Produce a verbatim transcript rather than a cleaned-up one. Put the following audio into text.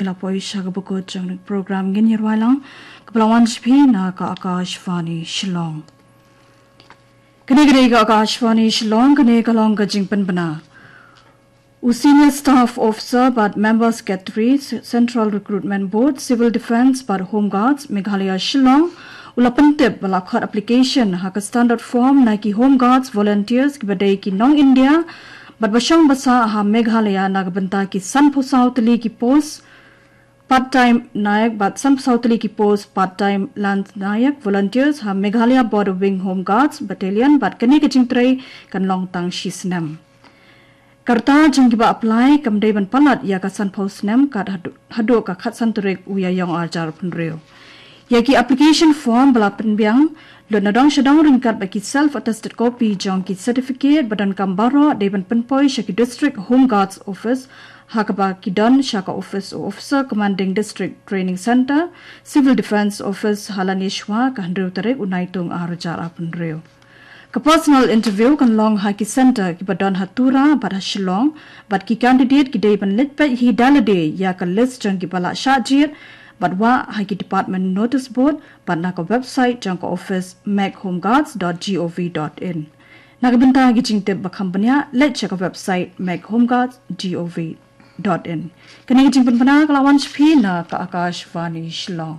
Ila poi sha ka bukut jong ka program ngin ïa rwai lang, ka ba la wan sha phi na ka Akashvani Shillong. Kane ka dei ka Akashvani Shillong, kane ka long ka jingpynbna. U Senior Staff Officer bad Member Secretary, Central Recruitment Board, Civil Defence bad Home Guards, Meghalaya Shillong, u la pyntip ba la khot application ha ka standard form na ki Home Guards volunteers ki ba dei ki nong India bad ba shong ba sah ha Meghalaya na ka bynta ki sanphew saw tylli ki post part-time nayak bad sanphew saw tylli ki post part-time lance nayak volunteers ha Meghalaya Border Wing Home Guards Battalion, bad kane ka jingtrei kan long tang shi snem. Ka rta jong ki ba apply kam dei ban palat ïa ka sanphew snem kat haduh, haduh ka khatsan tarik u Ïaïong arhajar arphew hynriew. Ïa ki application form ba la pynbiang lut na dong sha dong ryngkat bad ki self attested copy jong ki certificate ba donkam baroh dei ban pynpoi sha ki District Home Guards Office, ha kaba ki don sha ka office u Officer Commanding District Training Centre, Civil Defence Office, ha Laniashwa ka hynriew tarik u Naitung arhajar arphew hynriew. Ka personal interview kan long ha ki centre ki ba don ha Tura bad ha Shillong, bad ki candidate ki dei ban leit peit hi da lade ïa ka list jong ki ba la shah jied bad wah ha ki department notice board bad na ka website jong ka office meghomeguards dot gov dot in. Na ka bynta ki jingtip ba kham bniah, leit sha ka website meghomeguards dot gov dot in. Kane ka jingpynbna ka la wan sha phi na ka Akashvani Shillong.